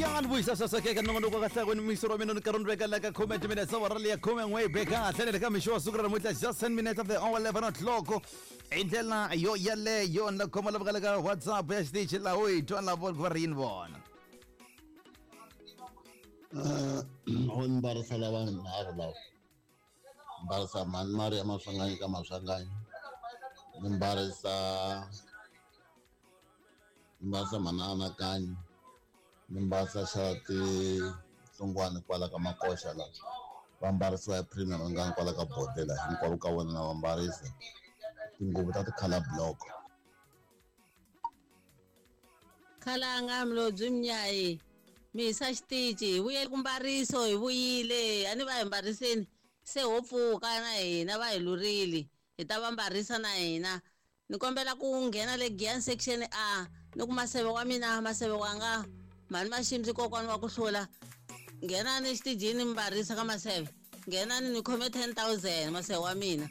Ya ni vuyisa saseke ka nongonoko wa kahle kwini mixo wa mina ni karhi ni veka la ka khume timinetse awara leya khume n'we be kahle ni le ka mixo wa siku ra namuntlha, just 10 minutes of the hour 11 o'clock. Hi ndlela yo yaleyo ni la khoma lava ka le ka WhatsApp ya xitichi laha u hi twa lavo va ri yini vona. O ni mbarisa lava nharhu lava mbarisa mhani Maria Maswanganyi ka Maswanganyi, ni mbarisa, ni mbarisa mhani Anakanyi, ni mbarisa xa tinhlungwani kwala ka Makoxa la va mbarisiwa hi Premier Mangani kwala ka Bodela. Hinkwavo ka vona na va mbarisa tinguvu ta ti-colour block. Khalanga Mlobyi Mnyayi, mi hisa xitici, hi vuye ku mbariso, hi vuyile a ni va hi mbariseni se ho pfuka na hina va hi lurile, hi ta va mbarisa na hina. Ni kombela ku nghena le Giyani section A, ni ku maseve wa mina, maseve wanga mhani Maximsi kokwani wa ku hlula, nghenani exitijini mi mbarisa ka maseve, nghenani ni khome 10,000 maseve wa mina.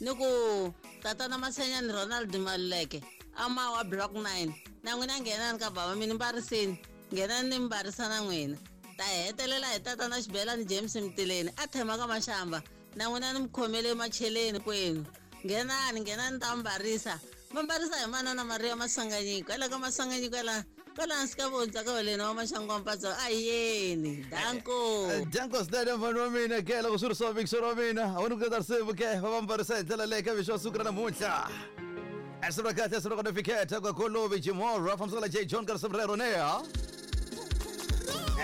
Ni ku tatana Masenyani Ronald Maluleke amawa block 9, na n'wina nghenani ka bava mi ni mbariseni, nghenani ni mbarisa na n'wina. Ta hetelela hi tatana Xibelani James Mtileni a thema ka Maxamba, na n'wina ni mi khomele macheleni kwenu, nghenani, nghenani ta mbarisa. Va mbarisa hi manana Maria Maswanganyi kwala ka Maswanganyi kwala kwala hansi ka vondza ka holeni wa Maxangu wa Mpatso. A yeni danko. Danko swinene mfana wa mina ke loko swi ri swa mixo wa mina a wu ni ku ta risimu ke va va mbarisa hi ndlela leyi ka mixo wa siku ra namuntlha. Esibra kahle esibra kona fiketa kwa kolovi Jimora fambisaka J John ka risimu rero neha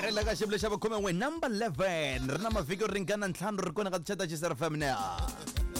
ri la ka xivule xa vukhume n'we number 11 ri na mavhiki yo ringana ntlhanu ri kona ka tichata xi FM neha.